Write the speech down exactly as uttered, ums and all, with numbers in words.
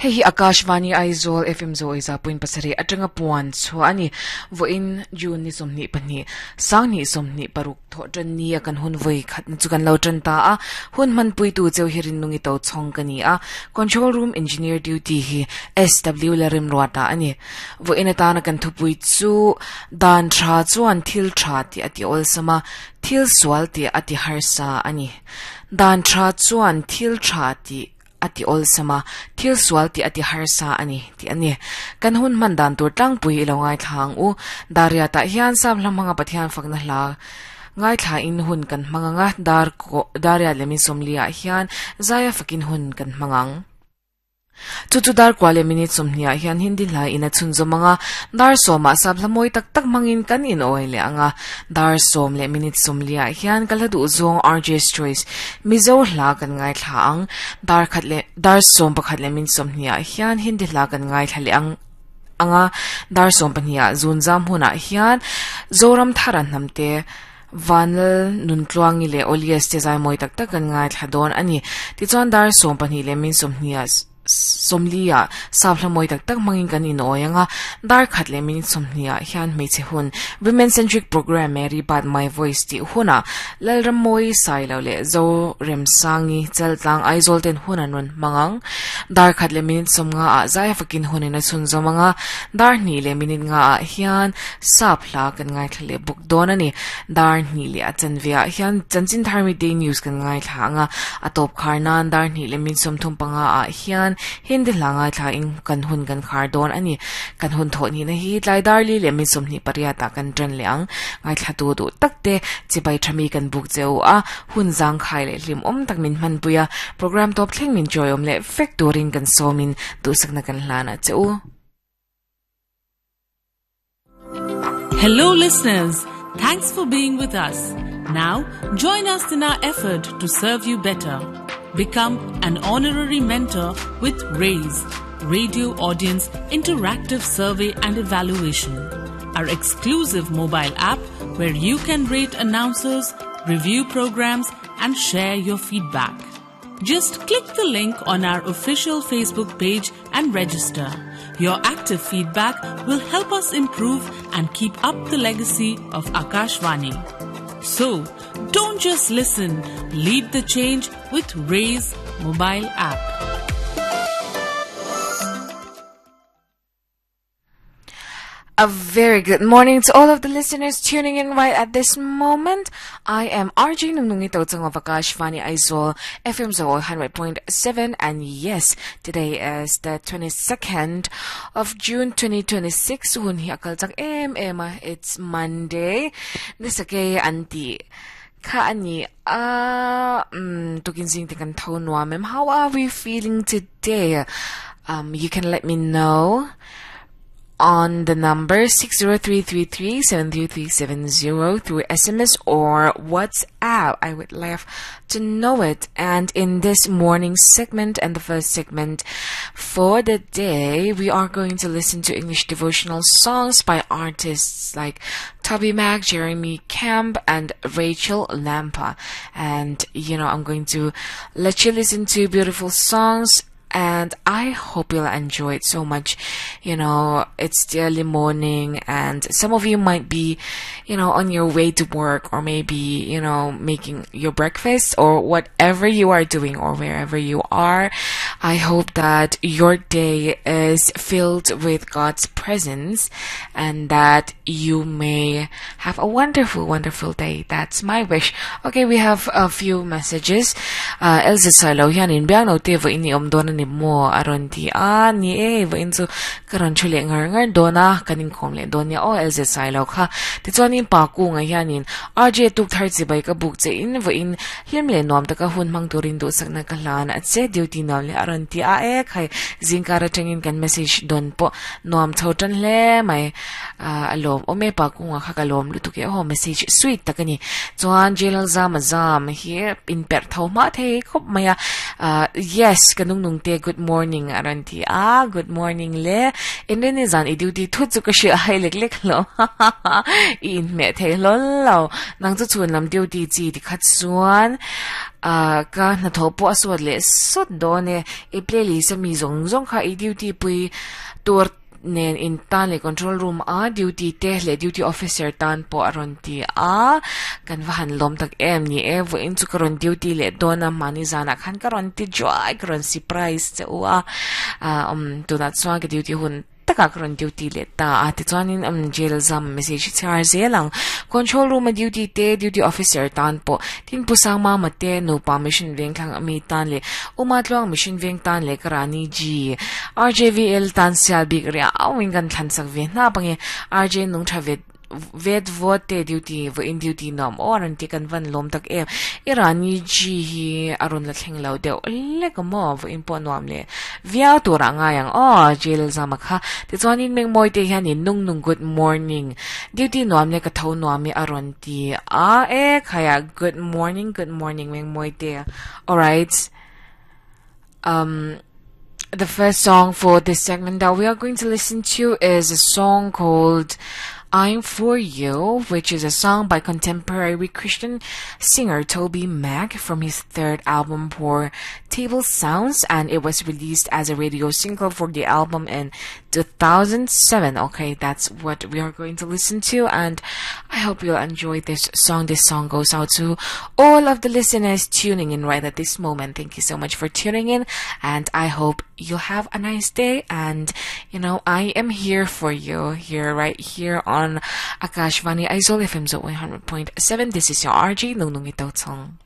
Hei hi Akashvani Aizawl F M zo iza point pasarih atanga puan chuani voin June ni somni pahnih sangni somni paruk tho tan ni a kan hun voi khat na chu kan lo tan ta a hun man pui tu cheu hirin nungi to chong kani a control room engineer duty hi S W larim ruata ani voin atana kan thupui chu dan tha chuan thil tha ti ati ol sama thil sual ti ati harsa ani dan tha chuan thil tha ti ati ol sama thil sual ti ati harsa ani ti ani kan hun man dan tur tlang pui ilo ngai thlang u daria ta hian sam hlamanga pathian fakna hla ngai thla in hun kan manganga dar ko daria lemin somlia hian zaya fakin hun kan mangang chu chu dar kwale minute somnia hian hindi hla ina chun zomanga dar soma sab hlamoi tak tak mangin kan in oile anga dar som le minute somlia hian kaladu zong R J's Choice mizo hla kan ngai thla ang dar khat le dar som pakhat le min somnia hian hindi hla kan ngai thla le ang anga dar som pania zun zam huna hian zoram tharan namte vanal nuntluangi le olias te zai moi tak tak kan ngai thla don ani ti chuan dar som pahnih le min somnia somlia sabla moi tak tak mangin kan in oyanga dar khat le min somnia hian hmeichhe hun women centric program Mary But My Voice ti huna lalram moi sai lo le zo rem sangi chaltlang Aizawl ten hunan ron mangang dar khat le min somnga a zai fakin hunina chun zomanga dar ni le minute nga a hian sapla kan ngai thle buk don ani dar ni le achanvia hian chanchin tharmi day news kan ngai thlanga atop kharnan dar ni le min somthum panga a hian hindi langa thla in kan hun kan khar don ani kan hun tho ni na hi tlai dar li le min somni pariata kan tran leang ngai thla tu du takte chibai thami kan buk cheu a hun jang khai le hlim om tak min man puya program top thleng min joyom le fek turin kan somin tu sakna kan hlana cheu. Hello listeners, thanks for being with us. Now join us in our effort to serve you better. Become an honorary mentor with RAISE, Radio Audience Interactive Survey and Evaluation, our exclusive mobile app where you can rate announcers, review programs and share your feedback. Just click the link on our official Facebook page and register. Your active feedback will help us improve and keep up the legacy of Akashvani. So, don't just listen, lead the change with RAISE mobile app. A very good morning to all of the listeners tuning in right at this moment. I am R J Nungnungi Totsang of Akashvani Aizawl F M one hundred point seven, and yes, today is the twenty-second of June twenty twenty-six. Hun hi akal chak em em. It's Monday. Nisake anti ka ani ah um tukin sing te kan tho nuam em. How are we feeling today? Um you can let me know on the number six zero three three three seven three three seven zero through S M S or WhatsApp. I would love to know it. And in this morning segment and the first segment for the day, we are going to listen to English devotional songs by artists like Toby Mac, Jeremy Camp, and Rachel Lampa. And, you know, I'm going to let you listen to beautiful songs, and I hope you'll enjoy it so much. You know, it's the early morning and some of you might be, you know, on your way to work, or maybe, you know, making your breakfast or whatever you are doing or wherever you are. I hope that your day is filled with God's presence and that you may have a wonderful, wonderful day. That's my wish. Okay, we have a few messages. Uh, Elsa Salo, yan in biang te vo ini om don ni mo aron ti a ni e vo in chu karon chule ngar ngar dona kanin khom le donia o Elsa Salo kha ti chuan in pa ku nga hianin R J tuk thar chi bai ka buk che in vo in hlim le nom taka hun mang turin du sakna ka hlan a che duty nom le aron ti a e khai zingkara tangin kan message don po nom chho tan le mai alom ome pa ku nga kha ka lom lu tu ke ho message sweet takani chuan jelal zam zam hi in per tho ma the khop maya. Yes kanung nung te good morning aron ti a good morning le in ni zan i duty thu chu ka shi hai lek lek lo in me the lo lo nang chu chun lam duty chi ti khat chuan Uh, ka na tho po aswat le sot do ne i playlist mi zong zong kha i duty pui tur nen in tan le control room a duty te le duty officer tan po aron ti a kan va han lom tak em ni e vo in chu karon duty le dona mani zana khan karon ti joy karon surprise che u a um tu na chuan ka duty hun taka karon duty le ta a ti chuan in um jail zam message char zelang control room a duty te duty officer tan po tin pusang ma ma te no pa mission veng thang ami tan le uma tluang mission veng tan le karani g R J V L tan sial bik ria awing kan thlan sak ve na pange R J nung tha ve vet vote duty vo in duty nom oran ti kan van lom tak em irani g hi arun la thleng lo deuh le ka mo vo in po nuam le via tu ra nga yang o jail zama kha ti chuan in meng moi te hian in nung nung good morning duty nuam le ka tho nuam mi aron ti a e khaya good morning good morning meng moi te. All right, um the first song for this segment that we are going to listen to is a song called I'm For You, which is a song by contemporary Christian singer Toby Mac from his third album, Poor Table Sounds, and it was released as a radio single for the album in two thousand seven. Okay, that's what we are going to listen to, and I hope you'll enjoy this song. This song goes out to all of the listeners tuning in right at this moment. Thank you so much for tuning in, and I hope you'll have a nice day. And you know, I am here for you here, right here on Akashvani Aizawl F M one hundred point seven. This is your R J Nung Nung Ito Tong.